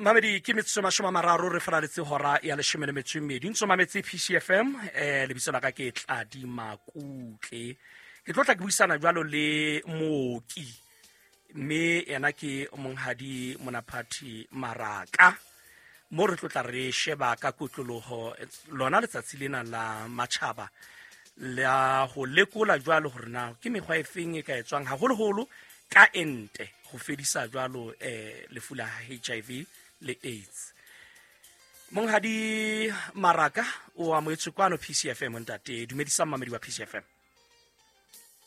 Mamedi, ke metsotso 30 re falaletse hora ya 12. Ntso mametse PCFM. Lebitso la ka ke Tladi Makutle. Ke tlo tla ke buisana jwalo le mooki, mme yena ke Monghadi Monaphathi Maraka, mo re tlo tla re sheba ka kotloloho lona letsatsi lena la matjhaba la ho lekola jwalo hore na ke mekgwa e feng e ka etswang haholoholo ka ente ho fedisa jwalo lefu la HIV le AIDS. Monghadi Maraka, o amohetswe kwano PCFM. Ntate, dumedisa mmamedi wa PCFM.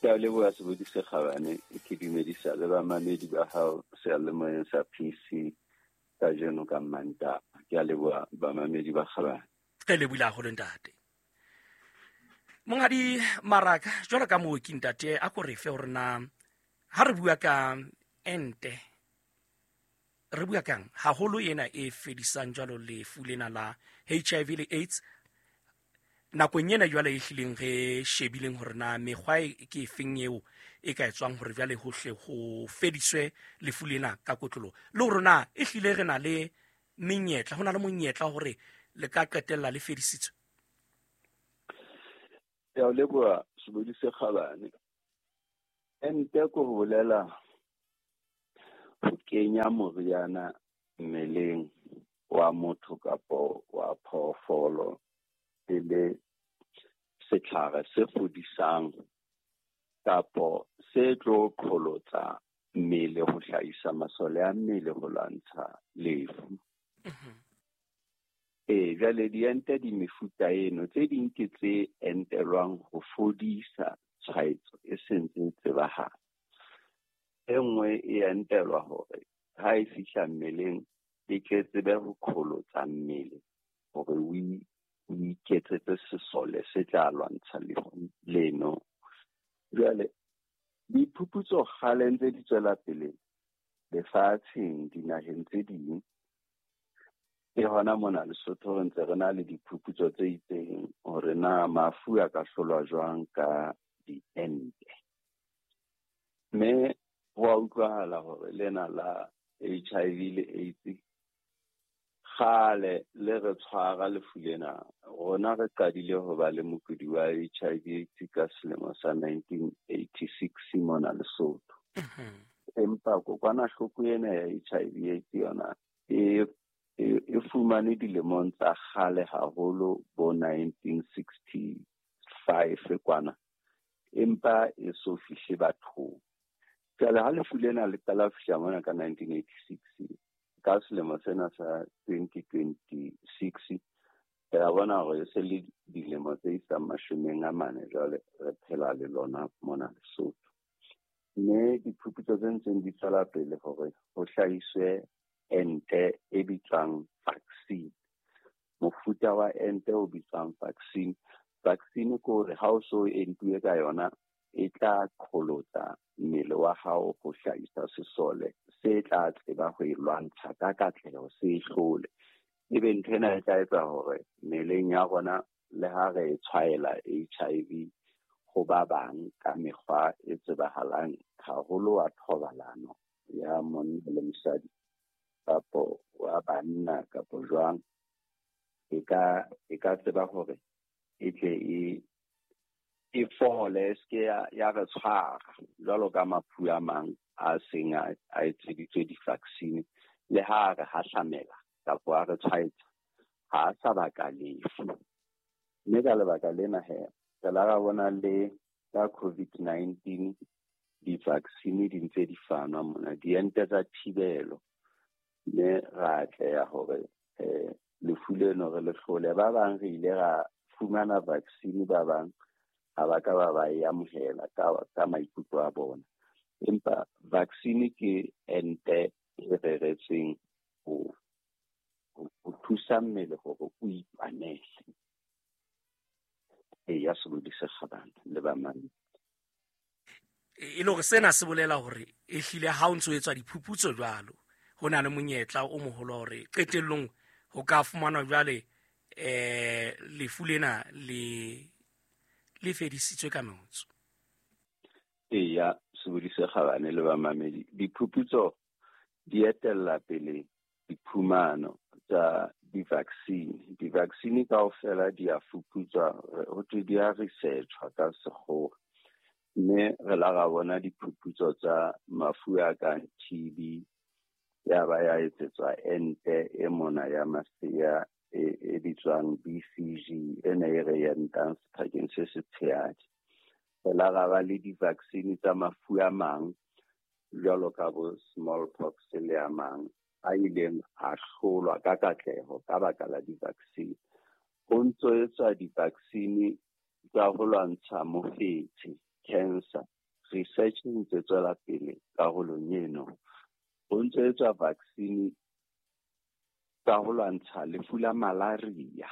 Ke a leboha, Sebodi se kgabane. Ke dumedisa le bamamedi ba hao seyalemoyeng sa PC kajeno ka Mmantaha. Ke a leboha, bamamedi ba kgabane. Re lebohile haholo, ntate. Monghadi Maraka, jwalo ka mooki, ntate, a ko re fe hore na ha re bua ka ente re bua kang, haholo ena e fedisang jwalo lefu lena la HIV le AIDS nakong ena jwale e hlileng re shebileng hore na mekgwa e ke efeng eo e ka etswang hore jwale hohle ho fediswe lefu lena ka kotlolo, le hore na e hlile re na le menyetla, ho na le monyetla hore le ka qetella le fedisitswe. Ke a o leboha, Sebodi se kgabane. Ente ko ho bolela ho kenya moriana mmeleng wa motho kapo wa phoofolo e le setlhare se fodisang kapo se tlo qholotsa mmele ho hlahisa masole a mmele ho lwantsha lefu. Ee, jwale diente di mefuta eno. Tse ding ke tse entelwang ho fodisa tshwaetso e sentse e tsebahala. E nngwe e entelwa hore ha e fihla mmeleng e tle tsebe ho qholotsa mmele hore o iketsetse sesole se tla lwantsha lefu leno. Jwale diphuputso kgale ntse di tswela pele lefatsheng, dinaheng tse ding. Ke hona mona Lesotho re ntse re na le diphuputso tse itseng hore na mafu a ka hlolwa jwang ka diente. Mme ho a utlwahala hore lena la HIV le AIDS kgale le re tshwara lefu lena. Rona re qadile ho ba le mokudi wa HIV AIDS ka selemo sa 1986 mona Lesotho. Empa kokwanahloko ena ya HIV AIDS yona e fumane dilemong tsa kgale haholo, bo 1965 kwana, empa e so fihle bathong. Jwale ha lefu lena le qala ho fihla mona ka 1986, ka selemo sena sa 2026 re a bona hore e se le dilemo tse isang 40 jwale re phela le lona mona Lesotho. Mme diphuputso tse ntseng di tswela pele hore ho hlahiswe ente e bitswang vaccine. Mofuta wa ente o bitswang vaccine. Vaccine ke hore ha o so entuwe ka yona, e tla qholotsa mmele wa hao ho hlahisa sesole se tla tseba ho e lwantsha ka katleho, se e hlole. Ebe ntho ena e tla etsa hore mmeleng ya rona, le ha re e tshwaela HIV ho ba bang ka mekgwa e tsebahalang haholo wa thobalano ya monna le mosadi kapo wa banna kapo jwang, e ka tseba hore e tle e fole, e seke ya re tshwara jwalo ka mafu a mang a seng a etseditswe di-vaccine. Le ha a re hahlamela kapo a re tshwaetsa, ha a sa baka lefu. Mme ka lebaka lena he, re la ra bona le ka COVID-19 di-vaccine di ntse di fanwa mona, diente tsa thibelo, mme ra atleha hore lefu leno re le hlole. Ba bang re ile ra fumana vaccine, ba bang ha ba ka ba ba e amohela ka maikutlo a bona. Empa vaccine ke ente e reretsweng ho thusa mmele hore o itwanele. Eya, Sebodi se kgabane le bamamedi. E le hore sena se bolela hore e hlile ha o ntso etswa diphuputso jwalo, ho na le monyetla o moholo hore qetellong ho ka fumanwa jwale lefu lena le fedisitswe ka metso. Eya, Sebodi se kgabane le bamamedi, diphuputso di etella pele. diphumano tsa di-vaccine. Di-vaccine kaofela di a fuputswa, ho thwe di a research-wa ka sekgowa. Mme re la ra bona diphuputso tsa mafu a kang TB, ya ba ya etsetswa ente e mona ya masea e bitswang BCG, e ne e re entang sephakeng se setshehadi. Re la ra ba le di-vaccine tsa mafu a mang jwalo ka bo smallpox le a mang a ileng a hlolwa ka katleho ka baka la di-vaccine. Ho ntso etswa di-vaccine tsa ho lwantsha mofetshe, cancer. Research e ntse tswela pele karolong eno. Ho ntso etswa vaccine tsa ho lwantsha lefu la malaria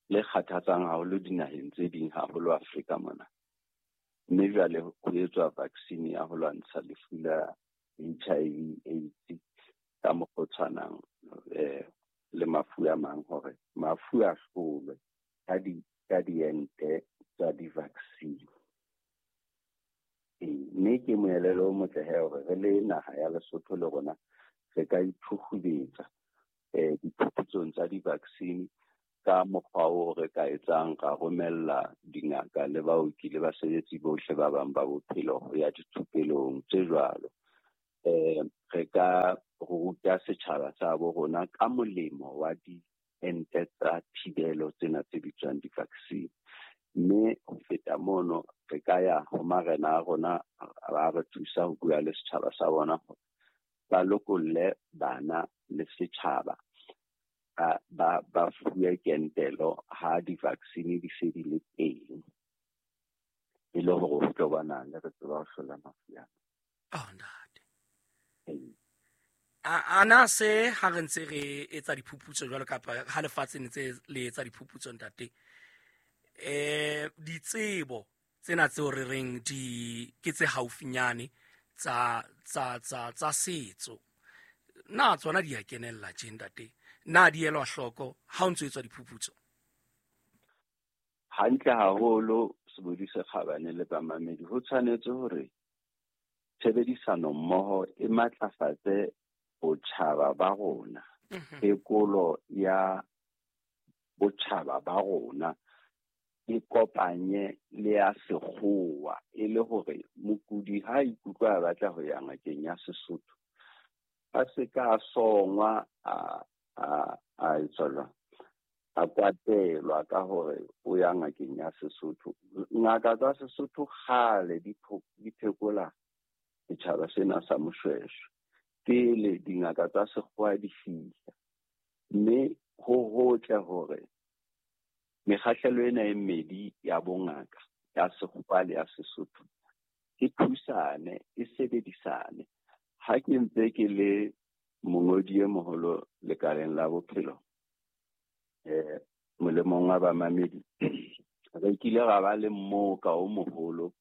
le kgathatsang haholo dinaheng tse ding, haholo Afrika mona. Mme jwale ho etswa vaccine ya ho lwantsha lefu la HIV AIDS ka mokgwa o tshwanang le mafu a mang, hore mafu a hlolwe ka diente tsa di-vaccine. Mme ke moelelo o motle he hore re le naha ya Lesotho le rona re ka ithuhubetsa diphuputsong tsa di-vaccine ka mokgwa o re ka etsang ra romella dingaka le baoki le basebetsi bohle ba bang ba bophelo ho ya dithupelong tse jwalo. Re ka ruta setjhaba sa bo rona ka molemo wa diente tsa thibelo tsena tse bitswang di-vaccine. Mme ho feta mono re ka ya ho marena a rona ba re thusa ho bua le setjhaba sa bona hore ba lokolle bana le setjhaba ba fuwe kentelo ha di-vaccine di se di le teng, e le hore ho tlo bona le re tseba ho hlola mafu ana. Oh, ntate. Ana se ha re ntse re etsa diphuputso jwalo kapa ha lefatshe ntse le etsa diphuputso ntate, ditsebo tsena tseo re reng di ke tse haufinyane tsa tsa tsa tsa setso, na tsona di a kenella tje ntate? Na di elwa hloko ha o ntso etswa diphuputso? Hantle haholo, Sebodi se kgabane le bamamedi, ho tshwanetse hore tshebedisano mmoho e matlafatse botjhaba ba rona, phekolo ya botjhaba ba rona e kopanye le ya sekgowa, e le hore mokudi ha ikutlwa a batla ho ya ngakeng ya Sesotho a se ka songwa a etswa jwang, a kwatelwa ka hore o ya ngakeng ya Sesotho. Ngaka tsa Sesotho kgale di phekola setjhaba sena sa Moshweshwe pele dingaka tsa sekgowa di fihla. Mme ho hotle hore mekgahlelo ena e mmedi ya bongaka, ya sekgowa le ya Sesotho, e thusane, e sebedisane. Ha ke ntse ke le mongodi e moholo lekaleng la bophelo, molemong wa bamamedi, re kile ra ba le mmoka o moholo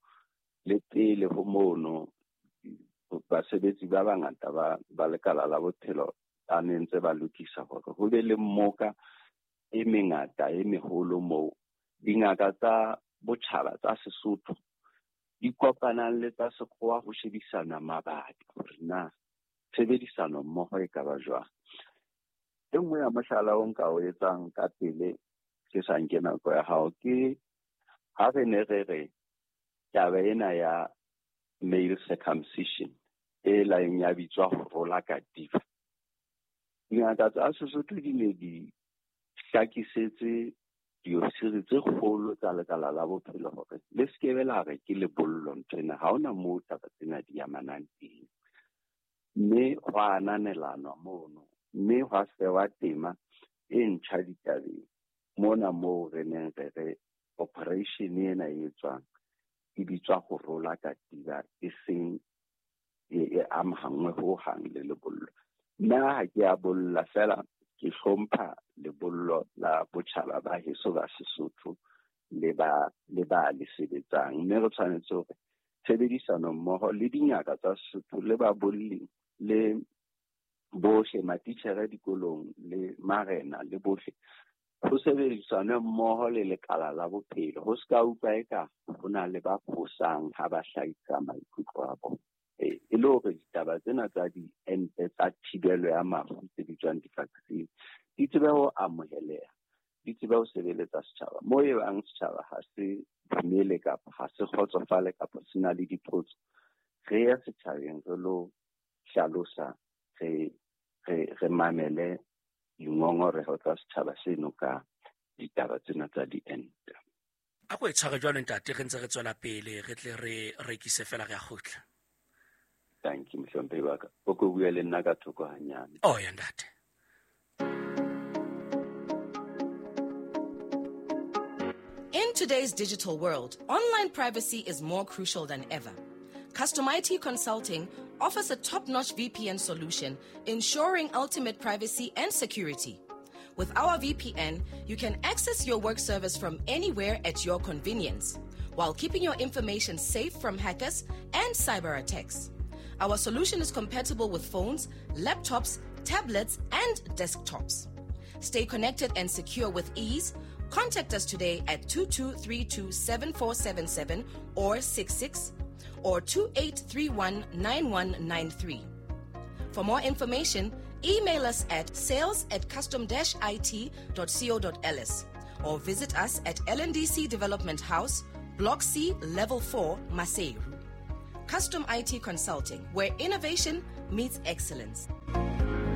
le pele ho mono basebetsi ba bangata ba lekala la bophelo ba ne ntse ba lokisa hore ho be le mmoka e mengata e meholo moo dingaka tsa botjhaba tsa Sesotho di kopanang le tsa sekgowa ho shebisana mabaka hore na tshebedisano mmoho e ka ba jwang. E nngwe ya mohlala o nka o etsang ka pele ke sa nke nako ya hao ke ha re ne re re taba ena ya male circumcision e laeng ya bitswa ho rola katiba. Dingaka tsa Sesotho di ne di hlakisetse diofisiri tse kgolo tsa lekala la bophelo hore le se ke be la re ke lebollo nthwena, ha hona moo taba tsena di amanang teng. Mme ho ananelanwa mono, mme hwa sewa tema e ntjha ditabeng mona moo re neng re re operation ena e etswang e bitswa ho rola katiba, e seng e amahangwe ho hang le lebollo. Nna ha ke a bolla, fela ke hlompha lebollo la botjhaba ba heso ba Sesotho le ba le sebetsang. Mme re tshwanetse hore tshebedisano mmoho le dingaka tsa Sesotho le babolli le bohle, matitjhere dikolong le marena le bohle, ho sebedisane mmoho le lekala la bophelo. Ho se ka utlwa eka ho na le ba fosang ha ba hlahisa maikutlo a bona. E E le hore ditaba tsena tsa diente tsa thibelo ya mafu tse bitswang di-vaccine di tsebe ho amoheleha, di tsebe ho sebeletsa setjhaba. Moo e bang setjhaba ha se dumele kapa ha se kgotsofale kapa se na le dipotso, re ye setjhabeng re lo hlalosa, re mamele dingongoreho tsa setjhaba seno ka ditaba tsena tsa diente. A ko e tshware jwalo ntate, re ntse re tswela pele, re tle re rekise fela re a kgutla. Thank you, mohlomphehi wa ka. O ko bue le nna ka thoko hanyane. Oh ya ntate. In today's digital world, online privacy is more crucial than ever. Custom IT Consulting offers a top-notch VPN solution, ensuring ultimate privacy and security. With our VPN, you can access your work service from anywhere at your convenience, while keeping your information safe from hackers and cyber attacks. Our solution is compatible with phones, laptops, tablets, and desktops. Stay connected and secure with ease. Contact us today at 2232-7477 or 66 or 2831-9193. For more information, email us at sales@custom-it.co.ls or visit us at LNDC Development House, Block C, Level 4, Maseru. Custom IT Consulting, where innovation meets excellence.